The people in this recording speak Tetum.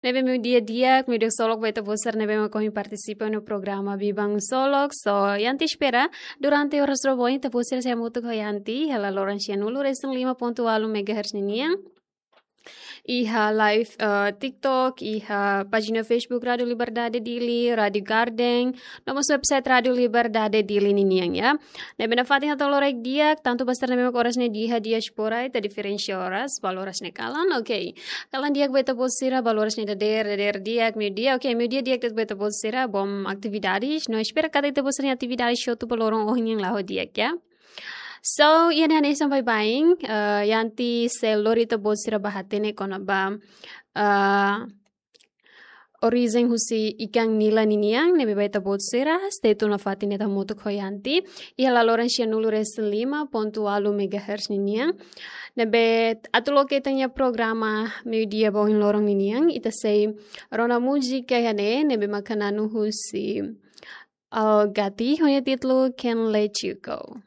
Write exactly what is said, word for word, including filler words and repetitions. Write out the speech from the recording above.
Ne'ebé meiudia di'ak, meiudia ksolok ba ita-boot sira ne'ebé mak ohin partisipa no programa Biban Ksolok. So, Yanti espera, durante oras rua ohin ita-boot sira sei hamutuk ho Yanti, hela loron sianulu resin lima pontu ualu megahertz ninian. Iha live, eh, TikTok, iha pájina Facebook Rádio Liberdade Dili, Rádio Garden, no mós website Rádio Liberdade Dili ninian, ya. Ne'ebé nafatin hato'o loraik di'ak, tantu ba sira ne'ebé mak oras ne'e iha diáspora, ita diferensia oras, balu oras ne'e kalan, oke. Kalan di'ak ba ita-boot sira, balu oras ne'e dadeer, dadeer di'ak, meiudia, oke, meiudia di'ak ba ita-boot sira, bom atividades, no espera katak ita-boot sira-nia atividades hotu ba loron ohin nian la'o di'ak, ya. So, iha ne'e hanesan baibain, eh, Yanti sei lori ita-boot sira ba hatene kona-ba, eh, orijen husi ikan nila ninian, ne'ebé ba ita-boot sira, stay tune nafatin ita hamutuk ho Yanti. Iha laloran sianulu resin lima pontu ualu megahertz ninian. Ne'ebé atu loke ita-nia programa meiudia ba ohin loron ninian, ita sei rona múzika iha ne'e, ne'ebé mak hananu husi Al Gatti, ho nia títulu Can't Let You Go.